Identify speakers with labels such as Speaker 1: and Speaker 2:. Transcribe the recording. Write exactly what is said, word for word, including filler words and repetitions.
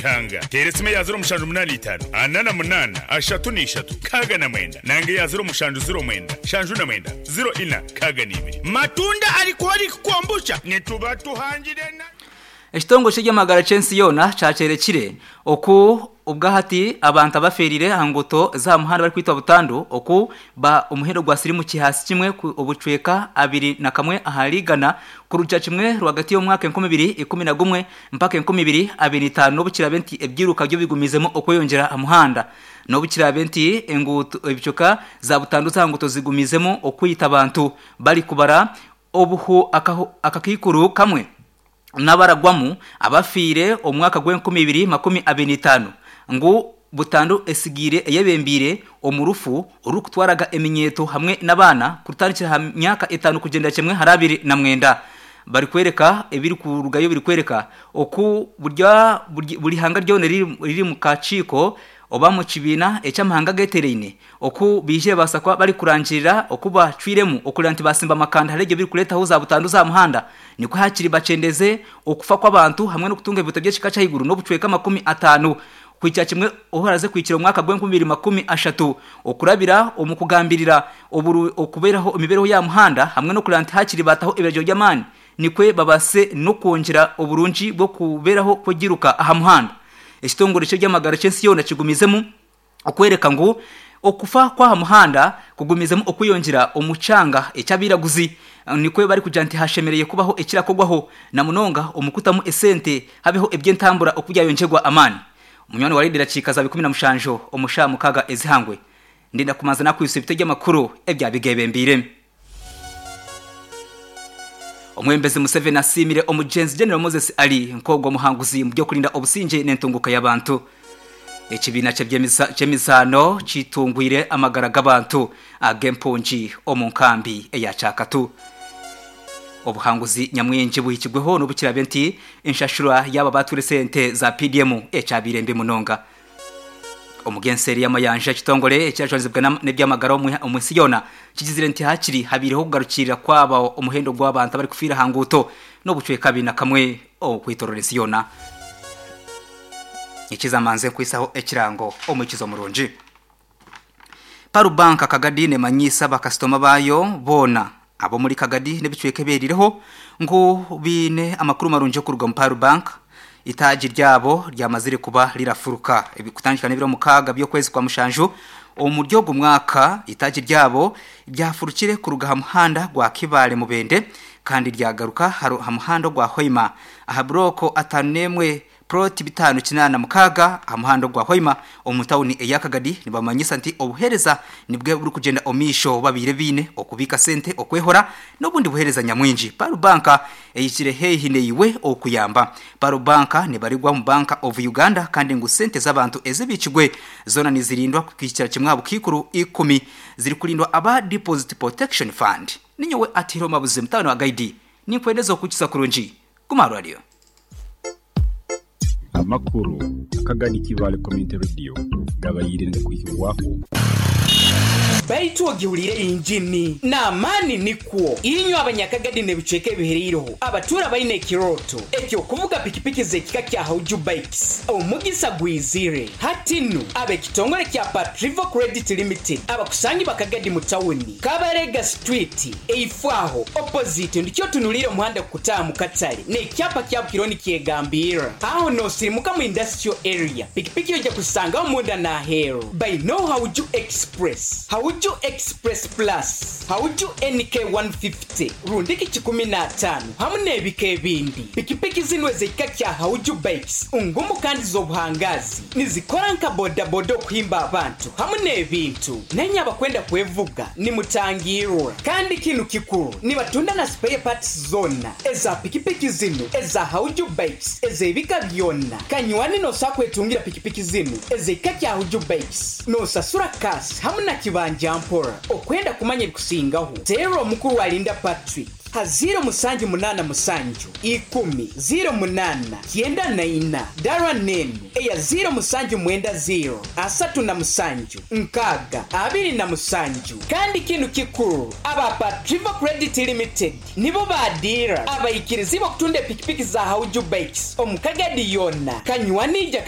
Speaker 1: Ruhanga teera esimu eya ziro mushanju munaana itaano ana na munaana ashatu n'ishatu nkaaga na mwenda nanga eya ziro mushanju ziro mwenda nshanju na mwenda ziro ina nkaaga n'ibiri. Matunda alcoholic kombucha nituba tuhangire na
Speaker 2: Ekitongole ky'ebyamagara ky'ensi yoona kyakyerekire oku obwahati abantu abaferire aha nguuto za muhanda barikwitwa butandu oku ba omuhendo gwa sirimu kihasi kimwe ku- obucweka abiri na kamwe ahari igana kurugira kimwe rwagati y'omwaka enkumi ibiri ikumi na gumwe mpaka enkumi ibiri abiri n'itaano n'obukirabe nti ebyiruka byo bigumizemu okweyongyera aha muhanda n'obukirabe nti enguuto ebicoka za butandu za nguuto zigumizemu okwita abantu bari kubara obuhu akaho- akakiikuru kamwe n'abaragwamu abafiire omwaka gw'enkumi ibiri makumi abiri n'itaano ngu butandu esigiire eyebembiire omu rufu orurikutwaraga eminyeeto hamwe n'abaana kurutandikira aha myaka etaano kugyenda kimwe hari abiri na mwenda barikwereka ebiri kurugayo birikwereka oku burya buri buri hanga ryona riri riri mu kakiiko oba mu kibiina eky'amahanga getereine oku biije baasa kuba barikurangirira oku bacwiremu okureba nti basimba amakanda hariho ebyo birikureetaho za butandu za muhanda nikwo hakiri bakyendeze okufa kw'abantu hamwe n'okutunga ebintu by'ekika ky'ahaiguru n'obucweka makumi ataano kuhikira kimwe obu kuhikira omwaka gw'enkumi ibiri makumi ashatu okurabira omu kugambirira oburu okubeeraho emibeereho ya muhanda hamwe n'okureba nti hakiri bataho ebiragiro by'amaani nikwe babase n'okwongyera oburungi bw'okubeeraho kw'egiruka aha muhanda. Ekitongore ky'ebyamagara ky'ensi yoona kigumizemu okwereka ngu okufa kw'aha muhanda kugumizemu okweyongyera omu kyanga eky'abairaguzi nikwe barikugira nti hashemereire kubaho ekirakorwaho na munonga omu kutamu esente habeho eby'entambura oku byayongyerwa amaani. Munywani wa reediyo erakiika za ikumi na mushanju omu shaaha mukaaga ezihangwe ndenda kumanza nakwisa ebitebe by'amakuru ebyabigebembiire. Omwebembezi Museveni asiimire omugyenzi General Moses Ali nk'ogwo omuhanguzi mu by'okurinda obusingye n'entunguka y'abantu. Ekibiina ky'emizaano kitungwire amagara g'abantu ag'empungi omu nkambi eya Kyakatu. Obuhanguzi nyamwingi buhikirweho n'obukirabe nti enshashura y'aba baatwire sente za P D M ekyabaire mbi munonga. Omugenseeri y'amayanja ekitongore ekyajwanizibwa n'ebyamagara omu nsi yoona kigizire nti hakiri habiireho okugarukirira kwaba omuhendo gw'abantu abarikufiira aha nguuto n'obucweka abiri na kamwe okwitorora ensi yoona. Ekizamanze nkwisaho ekirango omwikizo murungi. Paru Bank Kagadi nemanyiisa bakasitoma baayo boona ab'omuri Kagadi n'ebicweka ebyerireho ngu biine amakuru marungi okuruga omu Paru Bank. Itaagi ryabo ryamazire kuba rirafuruka kutandika n'ebiro mukaaga by'okwezi kwa mushanju omu ry'ogu mwaka. Itaagi ryabo ryafurukire kuruga aha muhanda gwa Kibaale Mubende kandi ryagaruka aha muhanda gwa Hoima aha buroko ataano n'emwe ploti bitano kinaana mukaaga aha muhanda gwa Hoima omu tawuni eya Kagadi. Nibamanyisa nti obuheereza nibwe burikugyenda omu maisho babiire biine okubiika sente, okwehora n'obundi buheereza nyamwingi. Paru Bank eyikire haihi neiwe okuyamba. Paru Bank nibarigwa omu Bank of Uganda kandi ngu sente z'abantu ezibikirwe zoona nizirindwa kuhikira kimwe aha bukiikuru ikumi zirikurindwa aba Deposit Protection Fund. Ninyowe Atihirwe Mabuzi mutabani wa Gaidi ninkwendeza okukiza kurungi. Guma aha rwariyo.
Speaker 3: Amakuru Akagadi Kibaale Community Radio gabaire nigakwihibwaho.
Speaker 4: Baitu ogihuriire injini n'amaani nikwo. Inywe abanyakagadi n'ebicweka ebihereireho abatuura baine ekirooto eky'okuvuga pikipiki z'ekika kya Hauju Bikes, omugisa gwizire. Hati nu ab'ekitongore kya Patrivo Credit Limited abakusangi bakagadi mu tawuni Kabarega Street eifo aho opposite ndikyo otunuliire omuhanda kukutaaha mu katare n'ekyapa kya Bukironi nikyegambirra. Aho noosirimuka mu industrial area pikipiki oija kuzisangaho munda n'aheeru. Baine Hauju Express, Hauju Express Plus, Hauju N K one fifty rundiki kikumi n'ataano hamwe n'ebika ebindi. Pikipiki zinu ez'ekika kya Hauju Bikes ngumu kandi z'obuhangazi nizikora nka bodaboda okuhimba abantu hamwe n'ebintu. Nenye abakwenda kwevuga nimutangirwa. Kandi kinu kikuru nibatunda na spare parts zona eza pikipiki zinu eza Hauju Bikes ez'ebika byona. Kanywani nosobola kwetungira pikipiki zinu ez'ekika kya Hauju Bikes nosasura cash hamwe na kibanja mpora. Okwenda kumanya ebikusingaho teera omukuru Alinda Patrick ha ziro musanju munaana musanju ikumi ziro munaana kyenda na ina dara nenu eya ziro musanju mwenda ziro asatu na musanju nkaaga abiri na musanju. Kandi kinu kikuru aba Patrivo Credit Limited nibo badira abaikirizi b'okutunda epikipiki za Hauju Bikes omu Kagadi yona. Kanywani ija.